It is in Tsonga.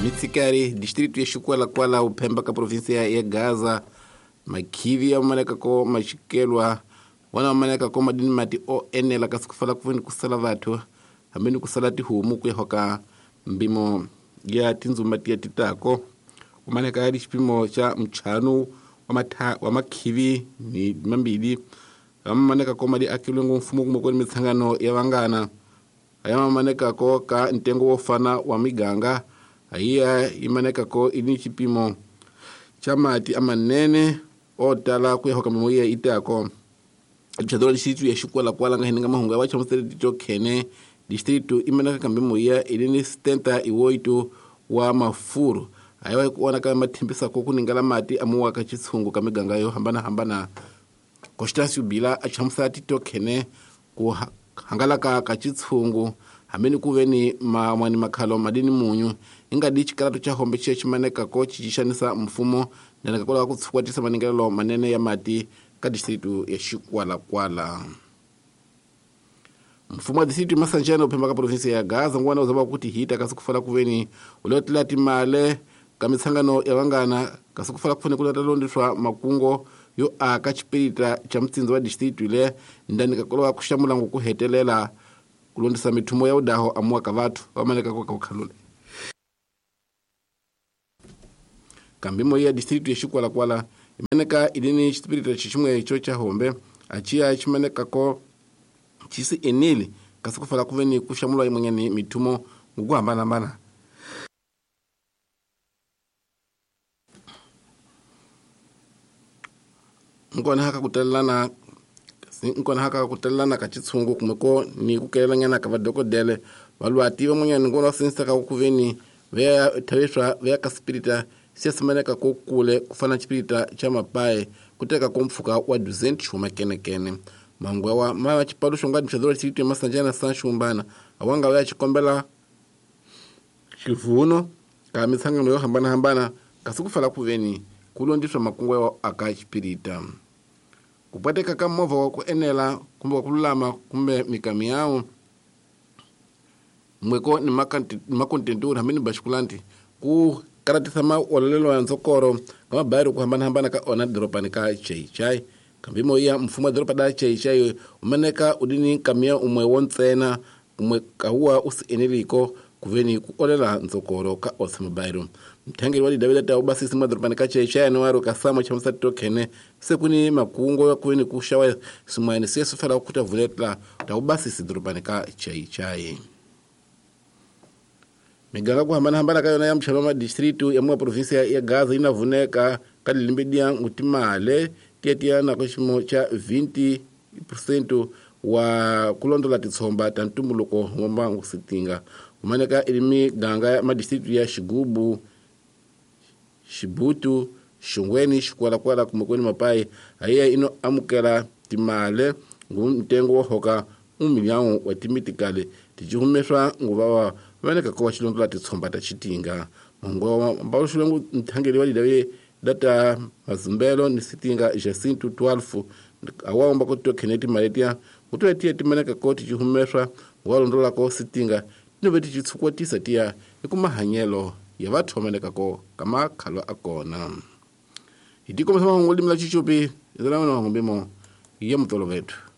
Mitsikari distrito ya Xikwalakwala uphemba ka provinsia ya Gaza makhivi ya manekako maxikelwa wana manekako madini mati o enela kasi ku fala ku veni ku sala vathu hambi ni ku sala tihomu ku ya hoka mbimo ya tindzuma tiya titako umaneka ya xipimo xa mchanu wa makhivi ni mambili amamanekako mali akilwe ngomfumo kumwe kweni mitsangano ya vangana ayamamanekako ka ntengo wo fana wa miganga ayiya imanekako ini xipimo xa mati amanene o tala ku ya hoka mimoya itako chadora distrito ya Xikwalakwala nga hininga mahungu ya vachamusele tito khene distrito imaneka kambe moya ilini 78 wa mafuru ayiwa ku onaka mathembisako ku ningala mati amuwa ka chitshungu ka miganga yo hambanahambana Constâncio Bila a chamusela tito khene ku hangalaka ka chitshungu hambi ku ve ni mamwani makhalo madini munyu ingadi xikalato xa hombe xi ximanekako xi xanisa mfumo ndaneka kwalaho ku tshukwatisa maningelelo manene ya mati ka distrito ya Xikwalakwala. Mfumo wa distrito ya Masanjana uphemba ka provinsia ya Gaza ngwana u zama ku tihita kasi ku fala ku veni u lo tlela timale ka mitsangano ya vangana kasi ku fala ku fane ku lata londiswa makungo yo aka xipirita xa mutsindzo wa distrito le ndanika kwalaho ku xamula ku hetelela ku londisa mithumo ya udaho amuwa ka vathu va maneka ko ka khalule kambe moya ya distrito ya Xikwalakwala imaneka ilini xipirita xiximwe xo xa hombe aciya ximanekako xisi eneli kasi ku fala ku veni ku xamula yin'wanyani mithumo ku hambanahambana. Nkona haka ku talelana ka xitshungu kumbe ko ni ku kelelanyana ka vadokodele valwati van'wanyani ngona va sindzisaka ku veni va ya thaviswa va ya ka xipirita xi simaneka ko kule ku fana na xipirita xa mapaye ku teka ko mpfhuka wa 200 xuma kenekene mahungu yawa ma xipaluxo nga mixadoro xi Masanjana san Xumbana awanga va ya xikombela xivuno ka mitsangano yo hambanahambana kasi ku fala ku veni ku londiswa makungu ya aka xipirita ku pateka ka movha wa ku enela kumbe wa ku lulama kumbe mikamiyawu mweko ni makontenturi hambi ni baxikulanti ku karatisa maololelo ya ntsokoro ka mabayari ku hambanahambana ka ona doropani ka Chaichai kambe moya mfumo wa doropa da Chaichai umaneka udini kamiya umwe wo ntsena kumwe kawuwa u si eneliko kuveni ku olela ntsokoro ka osa mabayiro mthangeli wa lidavela ta ubasisi mwa doropani ka Chaichai no ka samo cha msati khene se kuni makungo ya kuveni ku xawa swin'wana se swi fela ku ta vuletla ta ubasisi doropani ka Chaichai. Miganga ku hambanahambana ka yona ya mxava ma distrito ya mwa provinsia ya Gaza yi na vuneka ka lilembe dia ngutimale tiya na ximo xa 20% wa ku londola titshomba ta ntumbuluko wa mbangu sitinga kumaneka i miganga ya madistrito ya Xigubu, Xibutu, Xungweni, Xikwalakwala kumbe kweni Mapayi ayiya ino amukela timale ngu ntengo wo hoka 1 milhão wa timitikale tijihumeswa nguva wa vaneka ko xilondola titshomba ta xitinga mongo mbaluxulengu nthangeli wa lidawe data mazumbelo ni sitinga Jacinto 12 awamba ko tokheneti maletia kutoya tiya timaneka ko tijihumeswa wa londola ko sitinga tinove titshukwatisa tiya ikumahanyelo ya vathu vamaneka ko kamakhalo akona hi tikomisa mahungu limla chichupi izalana mahungu mbimo ya mutolo vethu.